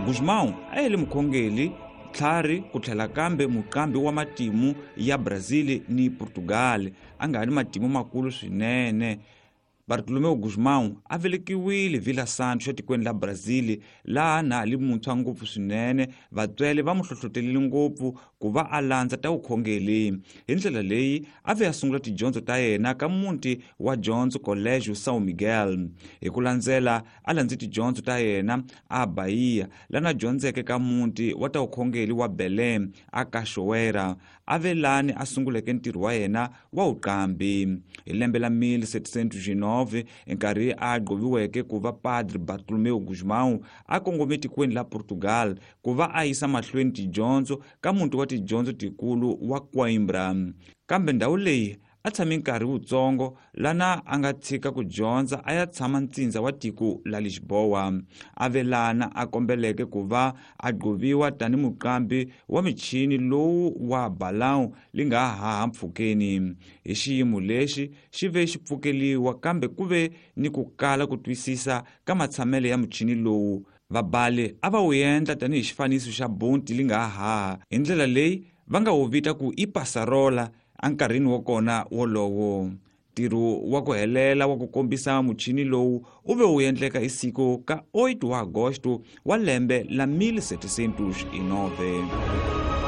Gusmão a yele mukhongeli, tlhari ku tlhela kambe muqambi wa matimu ya Brazil ni Portugal, a nga ni matimu makulu swinene. Bartolomeu Gusmão a velekiwile Vila Santos etikweni la Brazil, laha na ha li muntshwa ngopfu swinene. Vatswele va mu hlohlotelile ngopfu ku va a landza ta vukhongeli. Hi ndlela leyi a ve a sungula tidyondzo ta yena ka muti wa dyondzo Colégio São Miguel. Hi ku landzela a landze tidyondzo ta yena a Bahia, lana dyondzeke ka muti wa ta vukhongeli wa Belém a Cachoeira. A ve lani a sunguleke ntirho wa yena wa vuqambi. Hi lembe la 1709, nkarhi a gqoviweke ku va Padre Bartolomeu Gusmão a kongome tikweni la Portugal ku va a yisa mahlweni tidyondzo ka muti wa tidyondzo tikulu wa Coimbra. Kambe ndhawu leyi a tshame nkarhi wutsongo, lana a nga tshika ku dyondza a ya tshama ntsindza wa tiko la Lisboa. A ve lana a kombeleke ku va a gqoviwa tani muqambi wa michini lowu wa balão li nga haha mpfhukeni. Hi xiyimo lexi xi ve xi pfukeliwa, kambe ku ve ni ku kala ku twisisa ka matshamelo ya muchini lowu. Vabali a va wu endla tanihi xifaniso xa bunti li nga haha, hi ndlela leyi va nga wu vita ku i passarola enkarhini wa kona wolowo. Ntirho wa ku helela wa ku kombisa muchini lowu u ve wu endleka hi siku ka 8 wa agosto wa lembe la 1709.